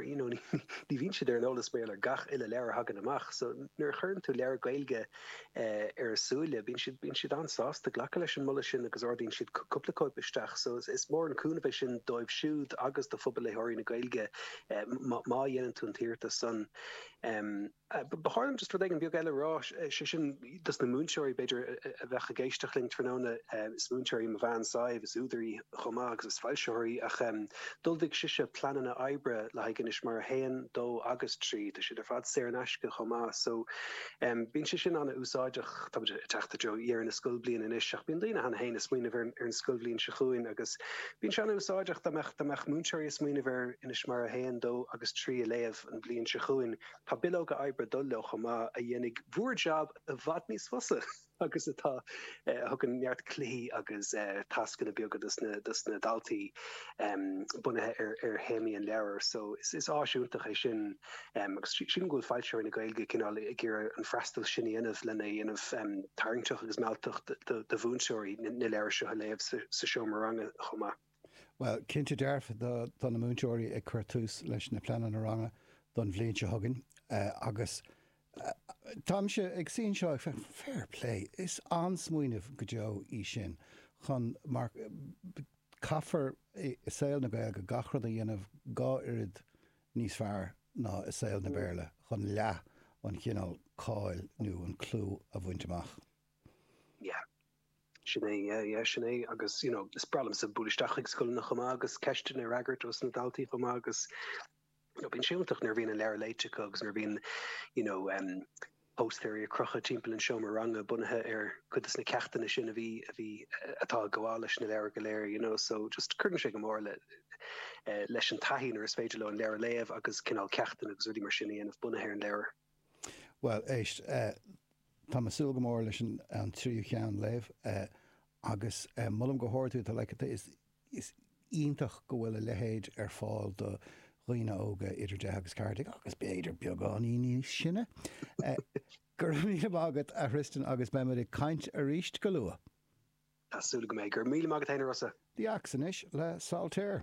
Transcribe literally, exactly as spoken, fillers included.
you know, ní bhíonn siad ar an eolas mar ar gach uile leabhar a thagann amach. So nuair a chuireann tú leabhar Gaeilge eh, ar a súile, bíonn siad bíonn siad an-sásta glacadh leis an moladh sin agus ordaíonn siad cúpla cóip isteach. So is, is mór an cúnamh é sin dóibh siúd agus do phobal léitheoirí na Gaeilge eh, má dhéanann tú an t-iarratas san. Um, Ba chóir just rud éigin beag eile rá sé sin dos na múinteoirí b'fhéidir a bheadh ag éisteacht linn tráthnóna is múinteoir í mo bhean Sadhbh is údar í chomh maith agus is foilsitheoir í ach d'ullmhaigh sise pleananna oibre le haghaidh Inis Mara a haon, dó agus trí tá siad ar fad saor in aisce chomh maith so bíonn sé sin an-úsáideach tá ag teacht i dtreo dheireadh na scoilbhliana anois ach bíonn daoine cheana féin ag smaoineamh ar ar an scoilbhliain seo chugainn agus bíonn sé an-úsáideach dá mbeadh dá mbeadh múinteoirí ag smaoineamh ar Inis Mara a haon, dó agus trí a léamh an bhliain seo chugainn. Tá bileoga oibre ag dul leo chomh maith a dhéanfaidh bhur jab i bhfad níos fusa agus atá a thugann neart cluichí agus tascanna beaga dos na dos na daltaí bunaithe ar ar théamaí an leabhair. So is is áis iontach é sin agus sílim go bhfuil foilsitheoirí na Gaeilge cineál ag iarraidh an freastal sin a dhéanamh lena dhéanamh tarraingteach agus mealltach do do mhúinteoirí na leabhair seo a léamh sa sa seomra ranga chomh maith. Bhuel, cinnte dearfa tá na múinteoirí ag cur tús leis na pleananna ranga don bhliain seo chugainn agus táimse ag suí anseo ag féachaint, fair play, is an-smaoineamh go deo í sin chun mar caithfear i saol na Gaeilge gach rud a dhéanamh dhá oiread níos fearr ná i saol na Béarla chun leath an chineál cáil nó an clú a bhaint amach. Yeah. Sin é, yeah, yeah, sin é agus you know, is breá liomsa bualadh isteach chuig scoileanna chomh maith agus ceisteanna a fhreagairt os na daltaí chomh maith agus you know, bíonn sé iontach nuair a bhíonn an leabhar léite acu agus nuair a bhíonn you know, um, póstaerí á gcrochadh timpeall an seomra ranga bunaithe ar cuid de na ceachtanna sin a bhí a bhí atá ag gabháil leis na leabhair go léir, you know, so just cuireann sé go mór le uh, leis an taithí nuair is féidir leo an leabhar a léamh agus cineál ceachtanna agus rudaí mar sin a dhéanamh bunaithe ar an leabhar. Well, éist, uh, Tá mé ag súil go mór leis an tríú ceann a léamh agus molaim go hard thú, tá like is is iontach go bhfuil a leithéid ar fáil do dhaoine óga idir deich agus ceathair déag agus b'fhéidir beagáinín níos sine. Go raibh míle maith agat a Thristan agus beimid ag caint arís go luath. Tá súil agam é. Go raibh míle maith agat féin a Rossa. The Axe anois le Saltair.